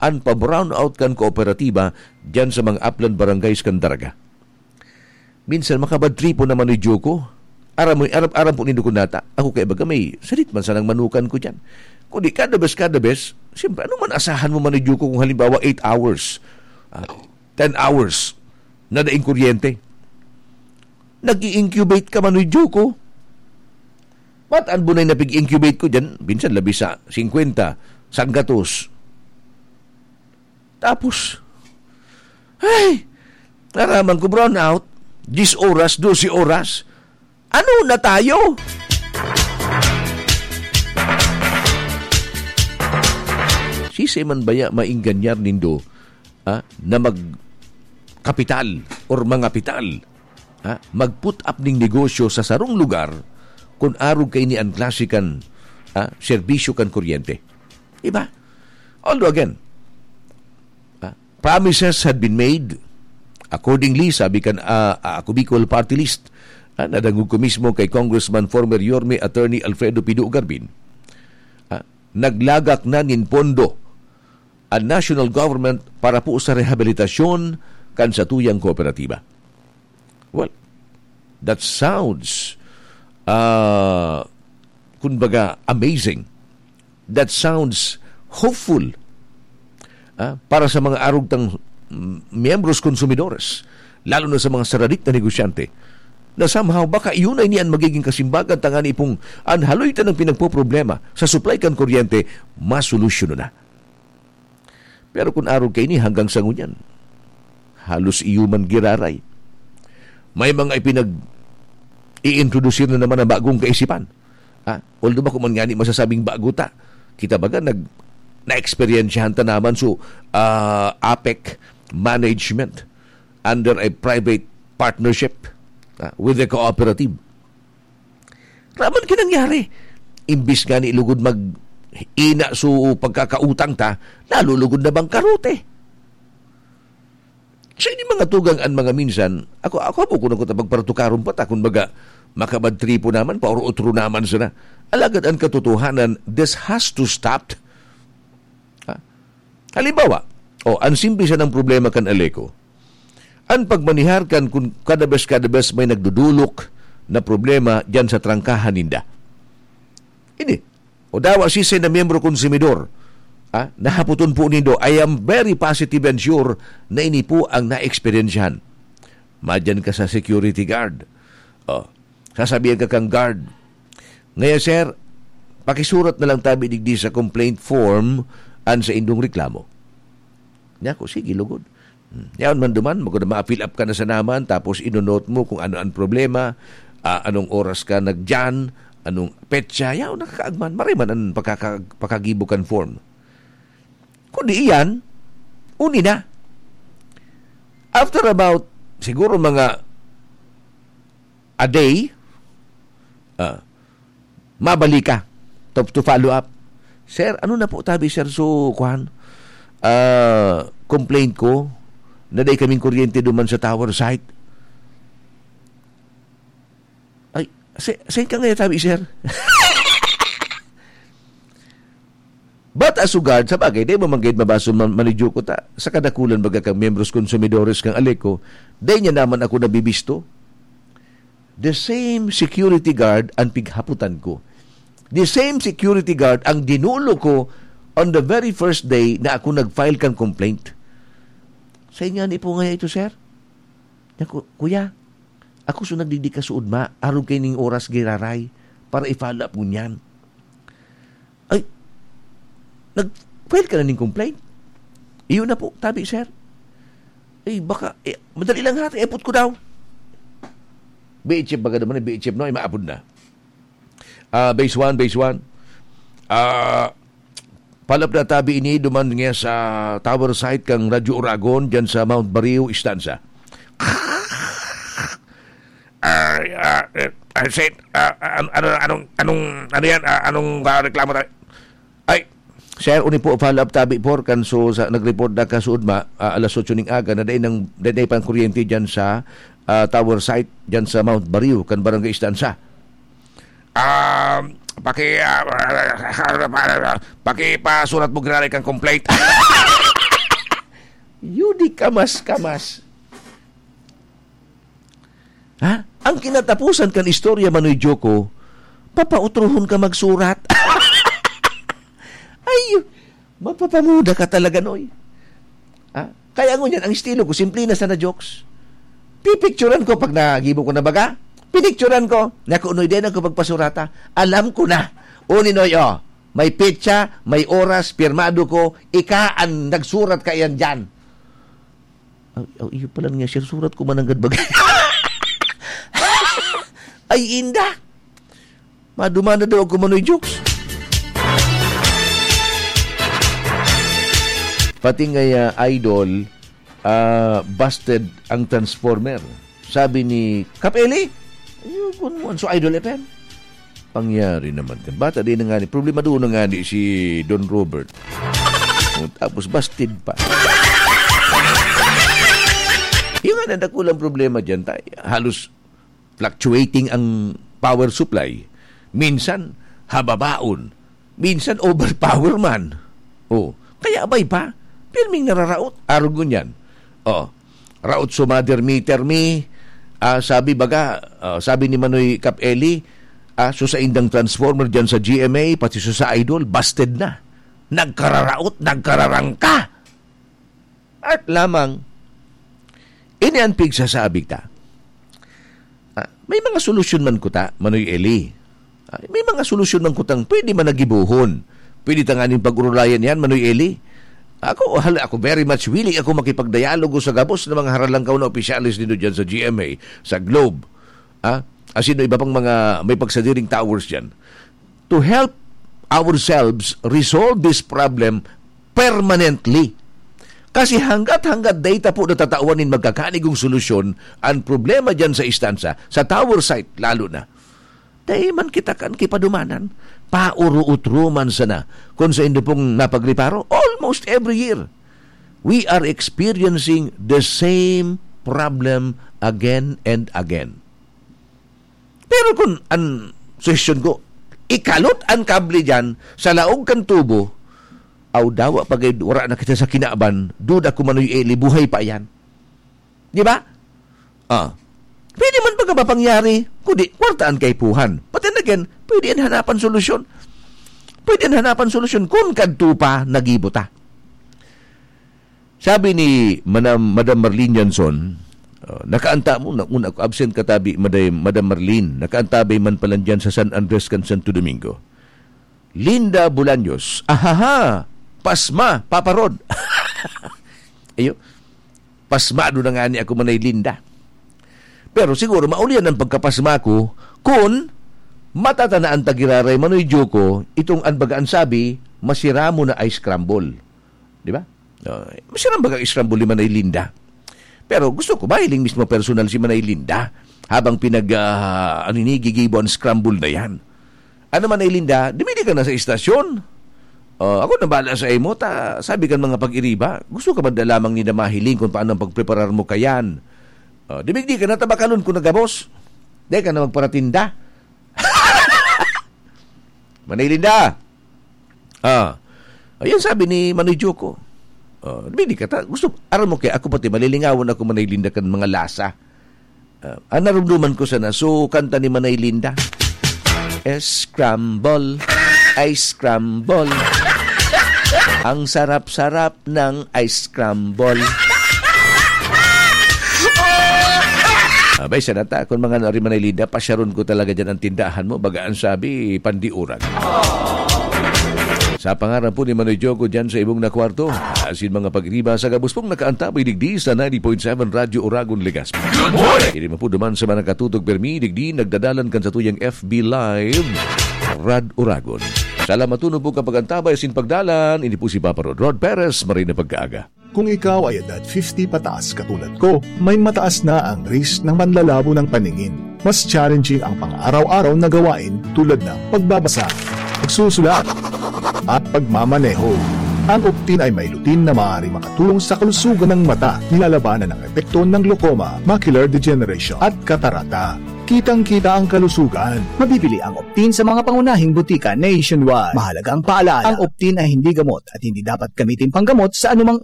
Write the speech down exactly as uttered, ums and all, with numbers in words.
an pa-brownout kan kooperatiba diyan sa mga aplan barangays kan Daraga. Minsan makabadtripon na man ni Joko. Aram mo, aram, aram po nindo kun nata. Ako kay baga may salit man sanang manukan ko diyan. Kundi kada bes, kada bes, siyempre, ano man asahan mo man ni Joko kung halimbawa eight hours, ah, ten hours na daing kuryente? Nag-i-incubate ka man ni Joko. Ba't an bunay na pig-incubate ko diyan? Minsan labi sa singkwenta, sanggatos. Tapos, ay, naraman ko brownout. Diyes oras, dose oras. Ano na tayo? Sisay man baya mainganyar nindo, ah, na magkapital or mangapital, ah, mag-put up ning negosyo sa sarong lugar kun arog kaini an klase kan, ah, serbisyo kan kuryente? Diba? Although again, ah, promises had been made. Accordingly, sabi kan, ah, ah, Ako Bicol Party List, ah, nadangog ko mismo kay Congressman former Yorme Attorney Alfredo Pido Garbin, ah, naglagak na nin pondo an national government para po sa rehabilitasyon kan satuyang kooperatiba. Well, that sounds, ah, kumbaga, amazing. That sounds hopeful, ah, para sa mga arog tang, mm, miyembros konsumidores, lalo na sa mga saradik na negosyante, na somehow baka iyon ay niyan magiging kasimbagan tangani pong an haloy tanang pinagpoproblema sa supply kan kuryente, masolusyon na. Pero kun arog kaini hanggang sa ngunyan, halos iyo man giraray. May mga ipinag-iintrodusir na naman na bagong kaisipan. Ha? Although bako man ngani masasabing bago ta. Kita baga nag-, naeksperyensyahan ta naman so, ah, APEC management under a private partnership, ah, with the cooperative. Raman kinangyari. Imbis nga ni lugod mag-ina so pagkakautang ta, lalo lugod na bangkarote. So, ini mga tugang an mga minsan, ako, ako, abo ko na kuta pagparatukaron pa ta, kun baga, makabadtripo naman, pauro-otro naman sana. Alagad an katotohanan, this has to stop. Ha? Halimbawa, o, an simple sanang problema kan Aleco, an pagmanihar kan kun kada bes, kada bes may nagdudulok na problema diyan sa trangkahan ninda. Ini, o dawa sisay na miyembro konsumidor, ah, nahapoton po nindo, I am very positive and sure na ini po ang naeksperyensyahan. Madyan ka sa security guard. Oh, sasabihan ka kang guard, "Ngaya, sir, pakisurat na lang tabi digdi sa complaint form an sa indong reklamo." Niya ko, "Sige, lugod." Hmm. Yaon man duman, magod na ma-fill up ka na sa naman, tapos ino-note mo kung ano ang problema, ah, anong oras ka nagdiyan, anong petsa, yaon nakakaagman, maray man ang pakaka-, pakagibo kan form. Kundi iyan, uni na. After about, siguro mga a day, ah, mabalik ka to, to follow up. "Sir, ano na po tabi, sir? So, kuhan, ah, complaint ko, na dai kaming kuryente duman sa tower site." "Ay, sa, saan ka ngayon tabi, sir?" But as regard, sa bagay, dai mo man gayud mabaso man, manidyo ko ta, sa kadakulan baga kang miyembros konsumidores kang Aleco, dai niya naman ako nabibisto. The same security guard ang pighaputan ko. The same security guard ang dinulo ko on the very first day na ako nag-file kang complaint. "Sa inyo ni po ngaya ito, sir?" Niya ko, "Kuya, ako so nagdigdi ka suod ma, arog kay ning oras giraray para i-follow up ngunyan." "Ay, nag-file ka na ning complaint?" "Iyo na po, tabi, sir." "Ay, baka, eh, madali lang ha, ipot ko daw." B H F baga naman, eh, B H F, no? Ay, maapod na. Ah, base one, base one. Ah, palap na tabi ini, duman niya sa tower site kang Radyo Oragon, dyan sa Mount Bario, Istanza. Ah, ah, eh, ah, sir, ah, ah, ano, anong, anong, ano yan? Ah, anong, ah, reklamo tayo? Ay, sir, uni po, follow up tabi po, kan so, sa, nag-report na kasuod ma, ah, alas otso ning aga, na dai nang, dai, dai pang kuryente dyan sa, ah, tower site, dyan sa Mount Bario, kan Barangay Istanza. Ah, paki, ah, pakipasurat mo giraray kang complaint. Di kamas-kamas. Ha? Ang kinatapusan kan istorya, Manoy Joko, papautrohon ka magsurat. Ay, mapapamuda ka talaga, Noy. Ha? Kaya ngunyan, ang estilo ko, simple na sana jokes. Pipicturan ko pag nagibo ko na baga. Pinicturan ko. Naku, Noy, di na ko pagpasurata. Alam ko na. Uni, Noy, oh. May petsa, may oras, pirmado ko. Ika ang nagsurat ka yan dyan. Ay, ay, iyo pala nga, sir. Surat ko mananggad bagay. Ay, inda. Madumana daw ako, Manoy Jokes. Pati nga, ah, idol, ah, busted ang transformer. Sabi ni Kap Eli, "Ayun, kun mo, so Idol F M." Pangyari naman kan bata, di na nga ni, problema doon na nga ni si Don Robert. O, tapos busted pa. Yung nga na dakulang problema dyan, tay, halos fluctuating ang power supply. Minsan, hababaon. Minsan, overpower man. Oh, kaya abay pa, pirming nararaot. Arog ngunyan. Oh, raot so mother meter mi. Ah, sabi baga, ah, sabi ni Manoy Kap Eli, ah, so saindang transformer dyan sa G M A, pati so sa Idol, busted na. Nagkararaot, nagkararangka. At lamang, ini an pigsasabi ta. Ah, may mga solusyon man kuta, Manoy Eli. Ah, may mga solusyon man kutang pwede man nagibohon. Pwede tanganing pag-urulayan yan, Manoy Eli. Ako, hal-, ako very much willing ako makipagdialogo sa gabos na mga haralangkaw na opisyales dito dyan sa G M A, sa Globe. Ah, as in, iba pang mga may pagsadiring towers dyan. To help ourselves resolve this problem permanently. Kasi hanggat-hanggat dai ta po natatawan nin magkakanigong solusyon, ang problema dyan sa istansa, sa tower site lalo na, dai man kita kan kipadumanan, pauro-utro man sana. Kung sa indo pong napagreparo, almost every year, we are experiencing the same problem again and again. Pero kun an suhestyon ko, ikalot an kable diyan sa laog kan tubo, aw dawa pa gayud wara na kita sa kinaban, duda ko Manoy Eli, buhay pa iyan. Di ba? Ah. Pwede man pagka mapangyari, kundi kwarta an kaipuhan. But then again, pwede an hanapan solusyon. Pwede an hanapan solusyon kun kadto pa nagibo ta. Sabi ni Manam-, Madam Marlene Janson, ah, nakaanta mo, na, una, absent ka tabi, Maday-, Madam Marlene, nakaantabay man pala diyan sa San Andres kan Santo Domingo. Linda Bolaños, ahaha, pasma, Papa Rod. Ayo, pasmado na nga ni ako, Manay Linda. Pero siguro, maulian ang pagkapasma ko, kun matatanaan ta giraray, Manoy Joko, itong an baga an sabi, masira mo na ice scramble. Di ba? Ah, masarang baga scramble ni Manay Linda. Pero gusto ko, mahiling mismo personal si Manay Linda habang pinag, ah, ano ini, gigibo ang scramble na yan. Ano, Manay Linda, dumili ka na sa istasyon. Ah, ako na bahala sa imo, ta, sabi kan mga pag-iriba, gusto ka man da lamang nila mahiling kung paano ang pagpreparar mo kayan. Ah, dumigdi ka na, tabakalon ko na gabos. Di ka na magparatinda. Manay Linda! Ah, ayan sabi ni Manoy Joko. Ah, bini ka ta, gusto, aram mo kaya ako pati malilingawan ako, Manay Linda, kan mga lasa. Ah, ang narumduman ko sana, so, kanta ni Manay Linda. Scramble, ice scramble. Ang sarap-sarap ng ice scramble. Abay, sana ta, kung mga narimanay Linda, pasyaron ko talaga dyan ang tindahan mo. Baga ang sabi, pandiurag. Sa pangaran po ni Manoy Joko dyan sa ibong na kwarto, asin mga pagriba sa gabos pong nakaantabay digdi sa ninety point seven Radyo Oragon, Legazpi. Good morning! Ini mo po duman sa mga nakatutok permi, digdi nagdadalan kan sa tuyang F B Live, Rad Oragon. Salamat tuno po kapag antabay asin pagdalan. Ini po si Papa Rod, Rod Perez, marhay na pagkaaga. Kung ikaw ay edad fifty pataas katulad ko, may mataas na ang risk ng manlalabo ng paningin. Mas challenging ang pang-araw-araw na gawain tulad ng pagbabasa, pagsusulat, at pagmamaneho. Ang Optin ay may lutein na maaaring makatulong sa kalusugan ng mata, nilalabanan ang epekto ng glaucoma, macular degeneration, at katarata. Kitang-kita ang kalusugan. Mabibili ang Optin sa mga pangunahing butika nationwide. Mahalagang paalala, ang Optin ay hindi gamot at hindi dapat gamitin panggamot sa anumang